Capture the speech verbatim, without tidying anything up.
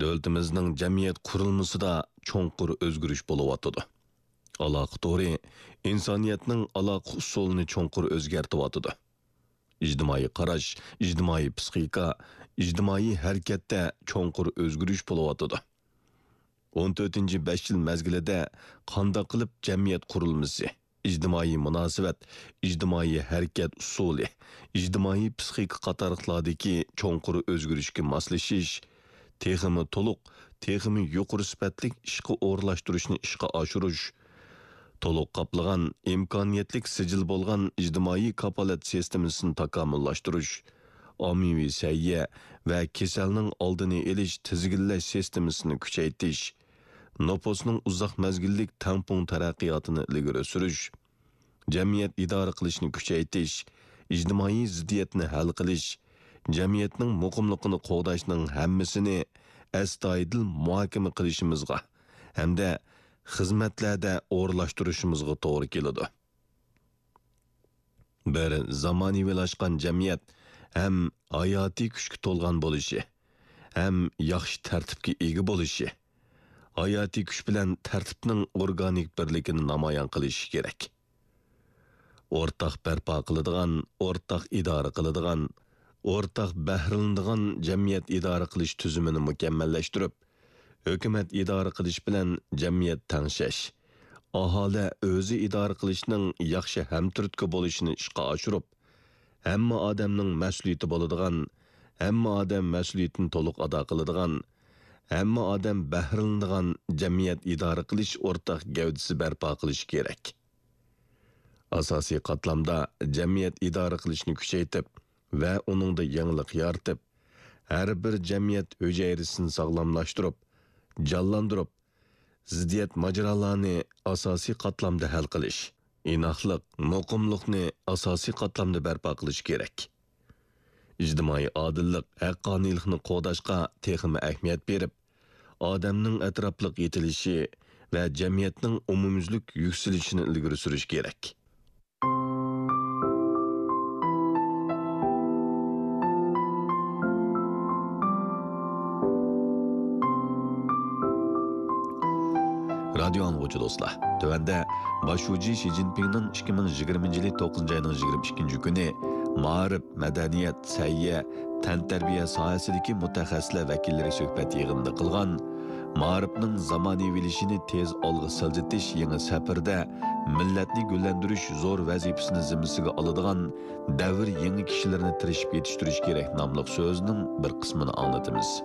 دۆلىتىمىزنىڭ جەمئىيەت قۇرۇلمىسىدا چوڭقۇر ئۆزگىرىش بولۇۋاتىدۇ. ئالاقە تورى ئىنسانىيەتنىڭ ئالاقە ئۇسۇلىنى چوڭقۇر ئۆزگەرتىۋاتىدۇ. ئىجتىمائىي قاراش، ئىجتىمائىي پسىخىكا، ئىجتىمائىي ھەرىكەتتە چوڭقۇر ئۆزگىرىش بولۇۋاتىدۇ. ئون تۆتىنچى بەش يىل مەزگىلىدە قانداق قىلىپ جەمئىيەت قۇرۇلمىسى، ئىجتىمائىي مۇناسىۋەت، ئىجتىمائىي ھەرىكەت ئۇسۇلى، ئىجتىمائىي پسىخىكا قاتارلىقلاردىكى چوڭقۇر ئۆزگىرىشكە ماسلىشىش، تېخىمۇ تولۇق، تېخىمۇ يۇقىرى سۈپەتلىك ئىشقا ئورۇنلاشتۇرۇشنى ئىشقا ئاشۇرۇش، تولۇق قاپلىغان، ئىمكانىيەتلىك سىجىل بولغان ئىجتىمائىي كاپالەت سىستېمىسىنى تاكامۇللاشتۇرۇش، ئاممىۋى سەھىيە ۋە كېسەلنىڭ ئالدىنى ئېلىش تىزگىنلەش سىستېمىسىنى كۈچەيتىش، نوپۇسنىڭ ئۇزاق مەزگىللىك تەڭپۇڭ تەرەققىياتىنى ئىلگىرى سۈرۈش، جەمئىيەت ئىدارە قىلىشنى كۈچەيتىش، ئىجتىمائىي زىددىيەتنى ھەل قىلىش، جەمئىيەتنىڭ مۇقىملىقىنى قوغداشنىڭ ھەممىسىنى ئەستايىدىل مۇھاكىمە قىلىشىمىزغا ھەمدە خىزمەتلەردە ئورۇنلاشتۇرۇشىمىزغا توغرا كېلىدۇ. بىر زامانىۋىلاشقان جەمئىيەت ھەم ھاياتىي كۈچكە تولغان بولۇشى، ھەم ياخشى تەرتىپكە ئىگە بولۇشى، ھاياتىي كۈچ بىلەن تەرتىپنىڭ ئورگانىك بىرلىكىنى نامايان قىلىشى كېرەك. ئورتاق بەرپا قىلىدىغان، ئورتاق ئىدارە قىلىدىغان، ئورتاق بەھرىلىنىدىغان جەمئىيەت ئىدارە قىلىش تۈزۈمىنى مۇكەممەللەشتۈرۈپ، ھۆكۈمەت ئىدارە قىلىش بىلەن جەمئىيەت تەڭشەش، ئاھالە ئۆزى ئىدارە قىلىشنىڭ ياخشى ھەمتۈرتكە بولۇشىنى ئىشقا ئاشۇرۇپ، ھەممە ئادەمنىڭ مەسئۇلىيىتى بولىدىغان، ھەممە ئادەم مەسئۇلىيىتىنى تولۇق ئادا قىلىدىغان، ھەممە ئادەم بەھرىلىنىدىغان جەمئىيەت ئىدارە قىلىش ئورتاق گەۋدىسى بەرپا قىلىشى كېرەك. ئاساسىي قاتلامدا جەمئىيەت ئىدارە قىلىشنى كۈچەيتىپ ۋە ئۇنىڭدا يېڭىلىق يارىتىپ، ھەر بىر جەمئىيەت ھۈجەيرىسىنى ساغلاملاشتۇرۇپ، جانلاندۇرۇپ، زىددىيەت ماجىرالارنى ئاساسىي قاتلامدا ھەل قىلىش، ئىناقلىق، مۇقىملىقنى ئاساسىي قاتلامدا بەرپا قىلىش كېرەك. ئىجتىمائىي ئادىللىق، ھەققانىيلىقنى قوغداشقا تېخىمۇ ئەھمىيەت بېرىپ، ئادەمنىڭ ئەتراپلىق يېتىلىشى ۋە جەمئىيەتنىڭ ئومۇميۈزلۈك يۈكسىلىشىنى ئىلگىرى سۈرۈش كېرەك. رادىيو ئاڭلىغۇچى دوستلار، تۆۋەندە باش شۇجى شى جىنپىڭنىڭ ئىككى مىڭ يىگىرمىنچى يىلى توققۇزىنچى ئاينىڭ يىگىرمە ئىككىنچى كۈنى مائارىپ، مەدەنىيەت، سەھىيە، تەنتەربىيە ساھەسىدىكى مۇتەخەسسىسلەر ۋەكىللىرى سۆھبەت يىغىنىدا قىلغان، مائارىپنىڭ زامانىۋىلىشىشىنى تېز ئالغا سىلجىتىش يېڭى سەپىرىدە مىللەتنى گۈللەندۈرۈش زور ۋەزىپىسىنى زىممىسىگە ئالىدىغان دەۋر يېڭى كىشىلىرىنى تىرىشىپ يېتىشتۈرۈش كېرەك ناملىق سۆزىنىڭ بىر قىسمىنى ئاڭلىتىمىز.